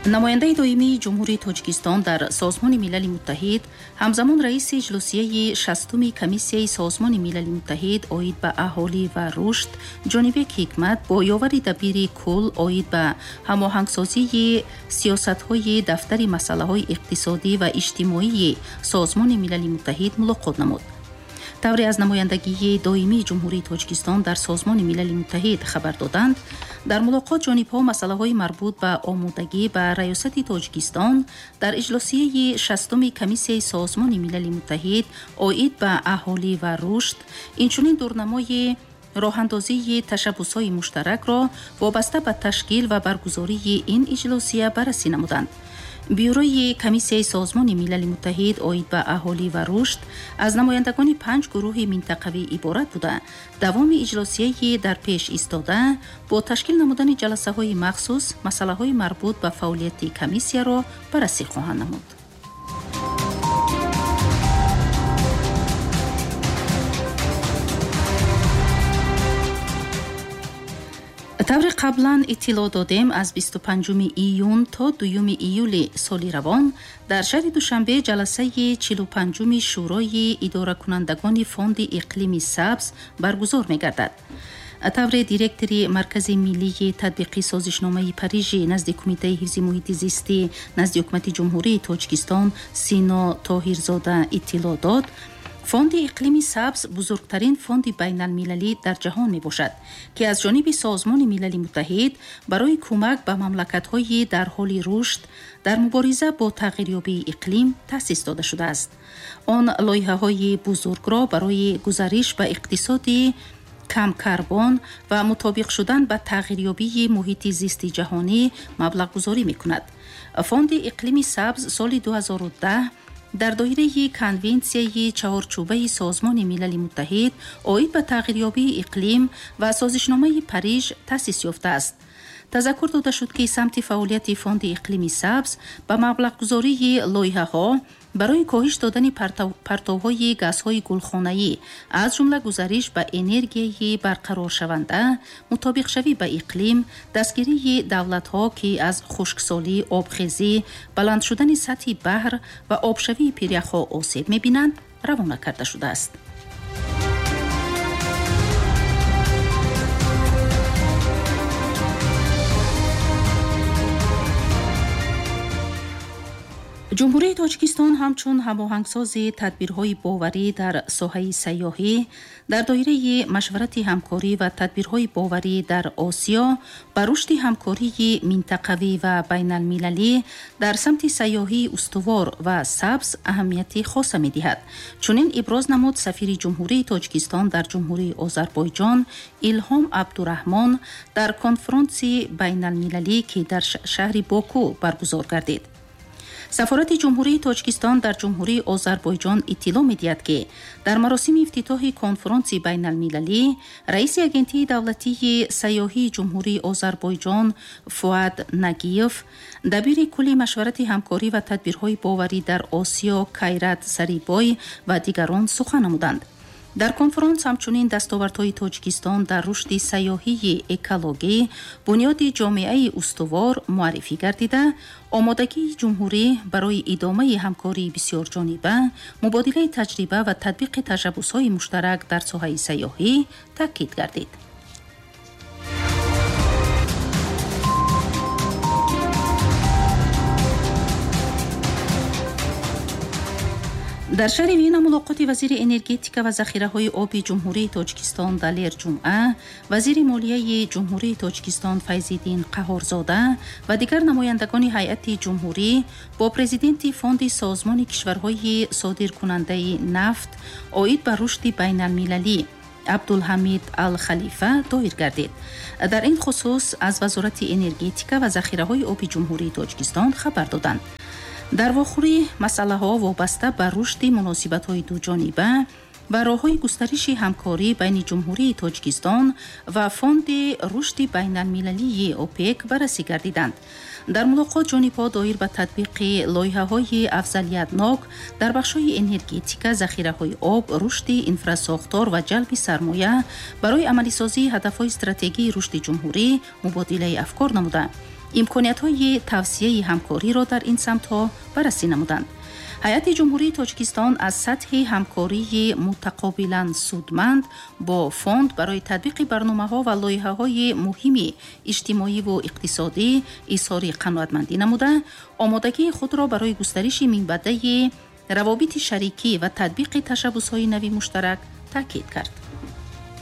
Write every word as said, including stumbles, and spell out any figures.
Намояндаи доимии Ҷумҳурии Тоҷикистон дар Созмони Милали Муттаҳид, ҳамзамон раиси иҷлосияи шастуми Комиссияи Созмони Милали Муттаҳид оид ба аҳолӣ ва рушд Ҷонибек Ҳикмат бо ёвари дабири кул оид ба ҳамоҳангсозии сиёсатҳои дафтари масъалаҳои иқтисодӣ ва иҷтимоии Созмони Милали Муттаҳид мулоқот намуд. Тавре аз намояндагии доимии Ҷумҳурии Тоҷикистон дар Созмони Милали Муттаҳид хабар доданд, дар мулоқот ҷонибҳо масъалаҳои марбут ба омодагӣ ба раёсати Тоҷикистон дар иҷлосияи шастуми Комиссияи Созмони Милали Муттаҳид оид ба аҳолӣ ва рушд, инчунин дурнамои роҳандозии ташаббусҳои муштаракро вобаста ба ташкил ва баргузории ин иҷлосия баррасӣ намуданд. Бюрои Комиссияи Созмони Милали Муттаҳид оид ба аҳолӣ ва рушд аз намояндагони панҷ гурӯҳи минтақавӣ иборат буда, давоми иҷлосияи дар пеш истода бо ташкил намудани ҷаласаҳои махсус масъалаҳои марбут ба фаъолияти комиссияро баррасӣ хоҳанд намуд. Тавре қаблан иттилоъ додем, аз бисту панҷуми июн то дуюми июли соли равон дар шаҳри Душанбе ҷаласаи чилу панҷуми Шӯрои идоракунандагони Фонди иқлими сабз баргузор мегардад. Тавре директори Маркази миллии татбиқи созишномаи Парижи назди Кумитаи ҳифзи муҳити зистӣ назди Ҳукумати Ҷумҳурии Тоҷикистон Сино Тоҳирзода иттилоъ дод, Фонди иқлими сабз бузургтарин фонди байналмилалӣ дар ҷаҳон мебошад, ки аз ҷониби Созмони Милали Муттаҳид барои кӯмак ба мамлакатҳои дар ҳоли рушд дар мубориза бо тағйирёбии иқлим таъсис дода шудааст. Он лоиҳаҳои бузургро барои гузариш ба иқтисоди камкарбон ва мутобиқ шудан ба тағйирёбии муҳити зисти ҷаҳонӣ маблағгузорӣ мекунад. Фонди иқлими сабз соли ду ҳазору даҳ дар доираи конвенсияи чаҳорчӯбаи Созмони Милали Муттаҳид оид ба тағйирёбии иқлим ва созишномаи Париж таъсис ёфтааст. Тазаккур дода шуд, ки самти фаъолияти Фонди иқлими сабз ба маблағгузории лоиҳаҳо барои коҳиш додани партовҳои газҳои гулхонаӣ, аз ҷумла гузариш ба энергияи барқароршаванда, мутобиқшавӣ ба иқлим, дастгирии давлатҳо, ки аз хушксолӣ, обхезӣ, баланд шудани сатҳи баҳр ва обшавии пиряхҳо осеб мебинанд, равона карда шудааст. Ҷумҳурии Тоҷикистон ҳамчун ҳамоҳангсози тадбирҳои боварӣ дар соҳаи сайёҳӣ дар доираи машварати ҳамкорӣ ва тадбирҳои боварӣ дар Осиё ба рушди ҳамкории минтақавӣ ва байналмилалӣ дар самти сайёҳии устувор ва сабз аҳамияти хоса медиҳад. Чунин иброз намуд сафири Ҷумҳурии Тоҷикистон дар Ҷумҳурии Озарбойҷон Илҳом Абдураҳмон дар конфронси байналмилалӣ, ки дар шаҳри Боку баргузор гардид. Сафорати Ҷумҳурии Тоҷикистон дар Ҷумҳурии Озарбойҷон иттилоъ медиҳад, ки дар маросими ифтитоҳи конфронси байналмилалӣ раиси Агентии давлатии сайёҳии Ҷумҳурии Озарбойҷон Фуад Нагиев, дабири кулли машварати ҳамкорӣ ва тадбирҳои боварӣ дар Осиё Кайрат Сарибой ва дигарон сухан намуданд. Дар конфронс ҳамчунин дастовардҳои Тоҷикистон дар рушди сайёҳии экологӣ, бунёди ҷомеаи устувор муаррифӣ гардида, омодагии ҷумҳурӣ барои идомаи ҳамкории бисёрҷониба, мубодилаи таҷриба ва татбиқи ташаббусҳои муштарак дар соҳаи сайёҳӣ таъкид гардид. Дар шаҳри Вена мулоқоти вазири энергетика ва захираҳои оби Ҷумҳурии Тоҷикистон Далер Ҷумъа, вазири молияи Ҷумҳурии Тоҷикистон Файзиддин Қаҳорзода ва дигар намояндагони ҳайати ҷумҳурӣ бо президенти Фонди Созмони кишварҳои содиркунандаи нафт оид ба рушди байналмилалӣ Абдулҳамид Ал-Халифа доир гардид. Дар ин хусус аз Вазорати энергетика ва захираҳои оби Ҷумҳурии Тоҷикистон хабар доданд. Дар вохӯрӣ масъалаҳо вобаста ба рушди муносибатҳои дуҷониба ва роҳҳои густариши ҳамкорӣ байни Ҷумҳурии Тоҷикистон ва Фонди рушди байналмилалии ОПЕК баррасӣ гардиданд. Дар мулоқот ҷонибҳо доир ба татбиқи лоиҳаҳои афзалиятнок дар бахшҳои энергетика, захираҳои об, рушди инфрасохтор ва ҷалби сармоя барои амалисозии ҳадафҳои стратегии рушди ҷумҳурӣ мубодилаи афкор намуда. Имкониятҳои тавсияи ҳамкориро дар ин самтҳо баррасӣ намуданд. Ҳайати Ҷумҳурии Тоҷикистон аз сатҳи ҳамкории мутақобилан судманд бо фонд барои татбиқи барномаҳо ва лоиҳаҳои муҳими иҷтимоиву иқтисодӣ изҳори қаноатмандӣ намуда, омодагии худро барои густариши минбаъдаи равобити шарикӣ ва татбиқи ташаббусҳои нави муштарак таъкид кард.